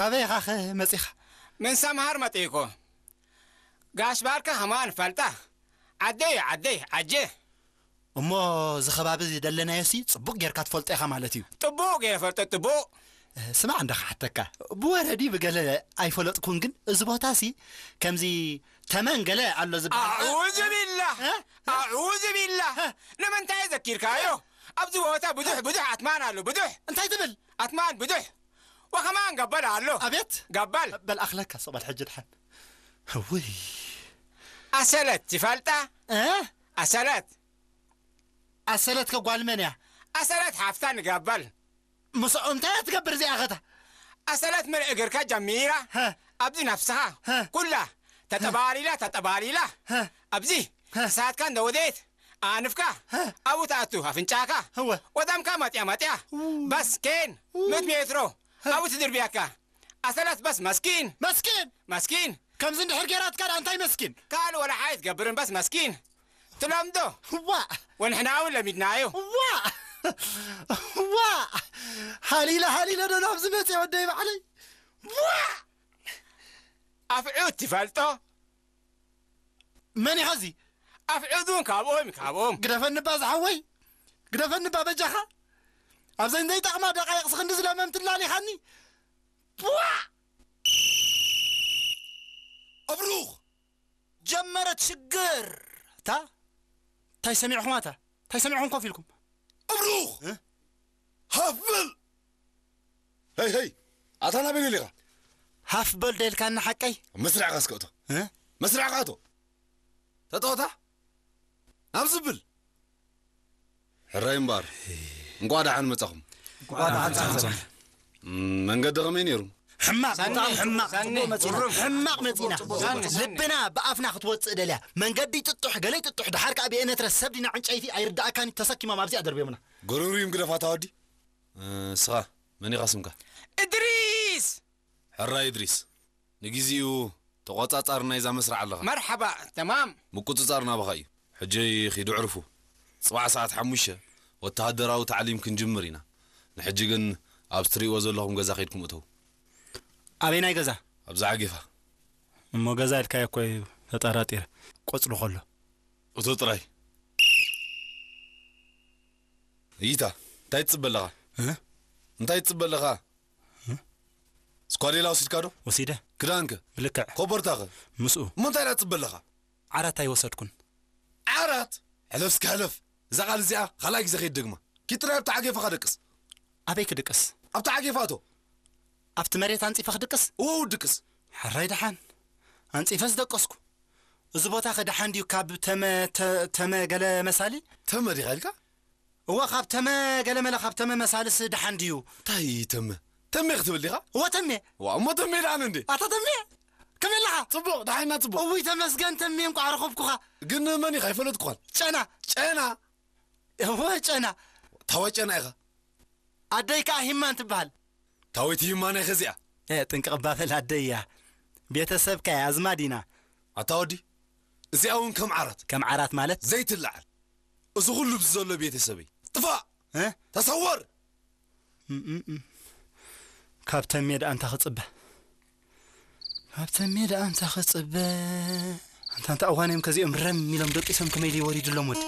ኣበይ ኢኻኸ መጺኻ? ምን ሰምሃር መጺእኮ። ጋሽ ባርካ ከማን ፈልጣ። ዓደይ፣ ዓደይ፣ ዓጀ። እሞ እዚ ከባቢ እዚ ደለናዮሲ ጽቡቕ ጌርካ ትፈልጦ ኢኻ ማለት እዩ። ጥቡቕ ገይረ ፈልጦ፣ ጥቡቕ። እ፣ ስማዕ እንዳ ክሓተካ። ብወረዲ ብገለ ኣይፈለጥኩን፣ ግን እዚ ቦታሲ ከምዚ ተመን ገለ ኣሎ ዝበሃል። ኣዑዙ ቢላህ። እ? ኣዑዙ ቢላህ። እ? ንምንታይ ዘኪርካዮ? ኣብዚ ቦታ ብዙሕ፣ ብዙሕ ኣትማን ኣሎ፣ ብዙሕ። እንታይ ትብል? ኣትማን ብዙሕ። ወከማን ገበል ኣሎ። ኣቤት። ገበል። በል ኣኽለካ፣ ሶቕ በል ሕጂ ድሓን። ውይ። ኣሰለት ትፈልጣ? እ? ኣሰለት። ኣሰለት ከ ጓል መን እያ? ኣሰለት ሓፍታ ንገበል። ምስኦ እንታይ እያ ትገብር እዚኣ ኸታ? ኣሰለት ምን እግርካ ጀሚራ? ሀ። ኣብዚ ነፍስኻ ሀ። ኩላ ተጠባሊላ፣ ተጠባሊላ። ሀ። ኣብዚ ሀ። ክሳድካ እንደወደየት ኣንፍካ ሀ። ኣብኡ ትኣቱ ኣፍንጫካ እወ። ወዳምካ መጥያ መጥያ። ው። በስ ኬን ው። ምእት ሜትሮ ሀ። ኣብኡ ትድርብያካ። ኣሰለት በስ መስኪን። መስኪን። መስኪን። ከምዚ እንድሕር ጌራትካ ደኣ እንታይ መስኪን? ካልእ ወላ ሓይ ትገብርን በስ መስኪን። ትለምዶ። ዋእ። ወንሕና እውን ለሚድናዮ። ዋእ። ዋእ። ሃሊለ፣ ሃሊለ ዶ ናብዚ መጽየ ወደይ ባዕለይ? ዋእ። ኣፍዑት ትፈልጦ? መን ኢኻ እዚ? ኣፍዑት እውን ካብኦም፣ ካብኦም። ግደፈኒ እባ ዝሓወይ። ግደፈኒ እባ በጃኻ። ኣብዘን ዘይጠቕማ ደቃይቕ ስኽንዲ ዝለመምቲ ላሊኻኒ። ዋእ። ኣብሩኽ! ጀመረት ሽግር። እታ እንታይ ሰሚዕኹም ኣታ? እንታይ ሰሚዕኹም ኮፍ ኢልኩም? ኣብሩኽ! እ? ሃፍ በል! ሄይ፣ ሄይ! ኣታ ናበይ ደሊኻ? ሃፍ በል ደልካና ሓቀይ? መስርዕኻ እስከ እቶ። እ? መስርዕኻ እቶ። ተጠወታ? ናብ ዝብል። ሕራይ እምበኣር፣ እንቋዕ ደሓን መጻኹም። እንቋዕ ደሓን መጻኹም። እም፣ መንገዲ ከመይ ነይሩ? ሕማቕ፣ ሳኒ፣ ብጣዕሚ ሕማቕ። ሳኒ፣ ጽቡቕ መጺና። ግሩም። ሕማቕ መጺና። ሳኒ፣ ሳኒ። ልብና ብኣፍና ክትወጽእ ደልያ። መንገዲ ጥጡሕ፣ ገለ ጥጡሕ፣ ደሓር ከኣ ብኤነትረ ሰብ ዲና ዕንጨይቲ ኣይርድኣካን እዩ፣ ተሰኪሞም ኣብዚኣ ደርብዮምና። ጎረብሪም ግደፋታ ወዲ። እ፣ እስኻ መን ኢኻ ስምካ? እድሪስ! ሕራይ እድሪስ። ንግዜኡ ተቖጻጻሪ ናይዛ መስርዕ ኣለኻ። መርሓባ፣ ተማም። ምቁጽጻር ናባኻ እዩ። ሕጂ ኺዱ ዕርፉ። ጽባሕ ሰዓት ሓሙሽተ ወተሃደራዊ ታዕሊም ክንጅምር ኢና። ንሕጂ ግን ኣብዚ ትርእይዎ ዘለኹም ገዛ ኸይድኩም እተዉ። ኣበይናይ ገዛ? ኣብዛ ዓጌፋ። እሞ ገዛ ኢልካዮ እኮ እዩ ተጠራጢረ። ቆጽሉ ከሎ። እቶ ጥራይ። እይታ፣ እንታይ ትጽበ ኣለኻ? እ? እንታይ ትጽበ ኣለኻ? ስኳዴላ ወሲድካ ዶ? ወሲደ። ክዳንከ? ብልክዕ። ኮቦርታኸ? ምስኡ። እሞ እንታይ ደኣ ትጽበ ኣለኻ? ዓራት ኣይወሰድኩን። ዓራት? ሕለፍ እስከ ሕለፍ። እዛ ቃል እዚኣ ካልኣይ ግዜ ከይትደግማ። ኪድ ጥራይ ኣብቲ ዓጌፋኻ ደቅስ። ኣበይ ክድቅስ? ኣብቲ ዓጌፋ እቶ። ኣብቲ መሬት ኣንጺፈ ክድቅስ? እወ፣ ድቅስ። ሕራይ ደሓን። ኣንጺፈስ ደቀስኩ። እዚ ቦታኸ ደሓን ድዩ ካብ ተመ-፣ ተ-፣ ተመ ገለ መሳሊ? ተመ ዲኻ ኢልካ? እወ፣ ካብ ተመ ገለመለ፣ ካብ ተመ መሳልስ ደሓን ድዩ? እንታይ ተመ? ተሜ ክትብል ዲኻ? እወ፣ ተሜ። ዋ፣ እሞ ተሜ ደኣ እንዴ? ኣታ ተሜ፣ ከመይ ኣለኻ? ጽቡቕ፣ ደሓንና ጽቡቕ። እውይ፣ ተመስገን ተሜ፣ እንቋዕ ረኸብኩኻ። ግን መን ኢኻ? ኣይፈለጥኩኻን። ጨና። ጨና? እወ፣ ጨና። ታዋይ ጨና ኢኻ? ኣደይ ከኣ ሂማን ትበሃል። ታወይቲ ሂማን ኢኻ እዚኣ? እ፣ ጥንቅቕ እባ በል፣ ኣደይ እያ። ቤተሰብካ እያ፣ ኣዝማድ ኢና። ኣታ ወዲ፣ እዚኣ እውን ከም ዓራት። ከም ዓራት ማለት? ዘይትለዓል። እዚ ኹሉ ብዚ ዘሎ ቤተሰበይ። ጥፋእ! እ? ተሰወር! እም፣ እም፣ እም። ካብ ተሜ ደኣ እንታ ክጽበ። ካብ ተሜ ደኣ እንታ ክጽበ። ኣንታ፣ እንታ እዋን እዮም ከዚኦም ረም ኢሎም ደቂሶም ከመይ ድዩ ወሪዱሎም ወዲ?